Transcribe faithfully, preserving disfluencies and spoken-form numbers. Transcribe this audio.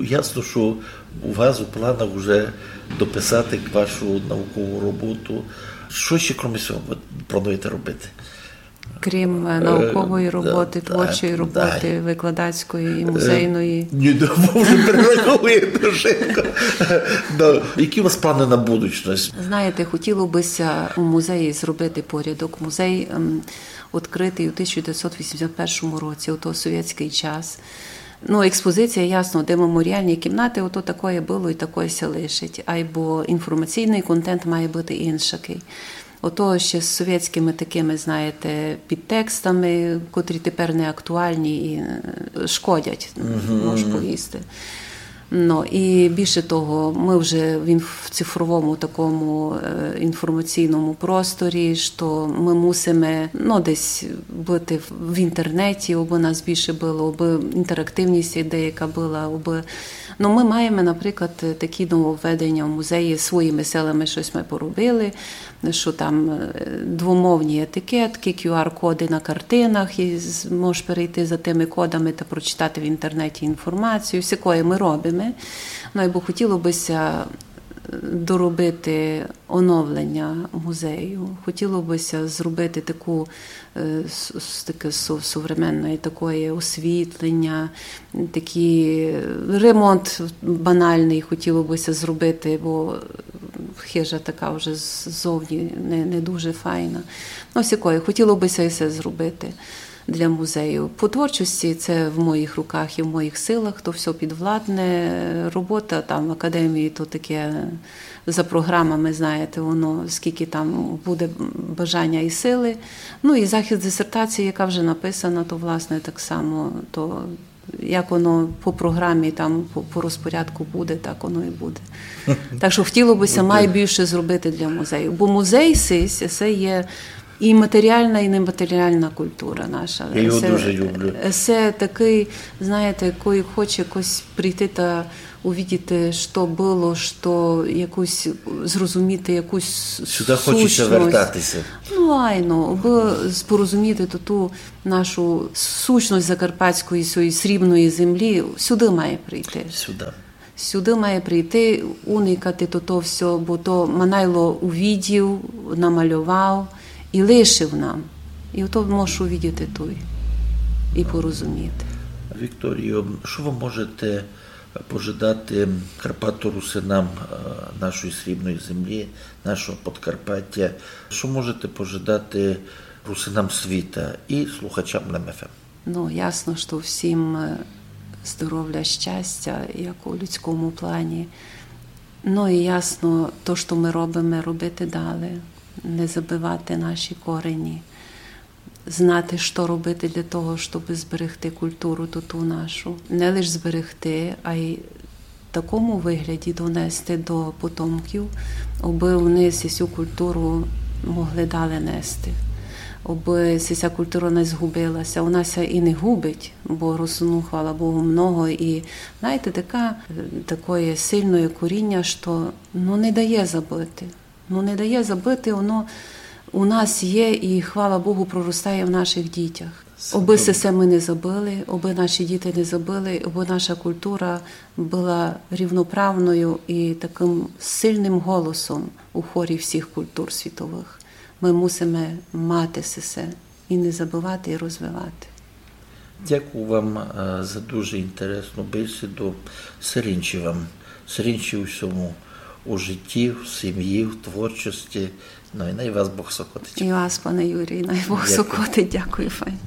Ясно, што у вас у планах уже дописати вашу наукову роботу. Што ще, крім сього, вы плануєте робити? Крім, е, наукової роботы, творчої роботы, викладацької і музейної. Ні, да, вы вже перераховуєте швидко. Да. Які у вас планы на будучность? Знаєте, хотіло бы ся у музеї зробити порядок. Музей, ем, відкрытый у тисяча девятьсот вісімдесят першому році, у той совєтськый час. Ну, експозиція, ясно, де меморіалні кімнаты, ото такоє было і такоє ся лишить. Айбо інформаційный контент має быти иншакый. Ото ще з совєтськыми такыми, знаєте, підтекстами, котрі тепер не актуальні і, е, шкодять, мож повісти. Ну, і більше того, мы вже в інф-, в цифровому такому, е, інформаційному просторі, што мы мусиме, ну, десь быти в, в інтернеті, абы нас більше было, абы інтерактивность деяка была, абы, ну, мы маєме, наприклад, такі нововведення в музеї, своїми силами штось мы поробили, што там, е, двомовні етикеткы, Q R-коды на картинах, і з-, можеш перейти за тыми кодами та прочитати в інтернеті інформацію. Всякоє мы робиме. Ну, айбо хотіло бы ся, е, доробити оновлення музею. Хотіло бы ся зробити таку, е, с-, с-, таке со-, современне такоє освітлення, такі, е, ремонт банальный хотіло бы ся зробити, бо хижа така вже з-, ззовні не, не дуже файна. Ну, всякоє, хотіло бы ся і се зробити для музею. По творчості се в моїх руках і в моїх силах, то всьо підвладне. Робота там в академії, то таке за програмами, знаєте, воно скільки там буде бажання і сили. Ну, і захист дисертації, яка вже написана, то, власне, так само, то як воно по програмі, там, по, по розпорядку буде, так воно і буде. Так што хотіло бы ся май більше зробити для музею. Бо музей сись, се є і матеріална, і нематеріална культура наша. Я його дуже люблю. Се такый, знаєте, коли хоче якось прийти та увидіти, што было, што якусь, зрозуміти якусь сущность. Сюды хоче ся вертати ся. Ну, айно, абы з-, порозуміти ту, ту нашу сущность закарпатської, сьої срібної землі, сюды має прийти. Сюды. Сюды має прийти, уникати то, то всьо, бо то Манайло увидів, намальовав і лишив нам. І ото можеш увидіти туй і порозуміти. Вікторіо, што вы можете пожадати карпаторусинам, е, нашої срібної землі, нашого Подкарпаття? Што можете пожадати русинам світа і слухачам Лем Ф М? Ну, ясно, што всім, е, здоровля, щастя, як у людському плані. Ну, і ясно, то, што мы робиме, робити далі, не забывати наші корені, знати, што робити для того, щоб зберегти культуру ту, ту нашу. Не лиш зберегти, а й в такому вигляді донести до потомків, абы вони сю культуру могли далі нести, абы ся культура не згубила ся. Вона ся і не губить, бо русинув, хвала Богу, много. І, знаєте, така, такоє сильноє коріння, што, ну, не дає забыти. Ну, не дає забыти, воно у нас є і, хвала Богу, проростає в наших дітях. Абы се, се мы не забыли, абы наші діти не забыли, абы наша культура была рівноправною і такым сильным голосом у хорі всіх культур світовых. Мы мусиме мати се, се і не забывати, і розвивати. Дякую вам, е, за дуже інтересну бесіду. Сиринчі вам, сиринчі у всьому, у житті, в сім'ї, в творчості. Ну, і най вас Бог сокотить. І вас, пане Юрій, най Бог сокотить. Дякую, файн.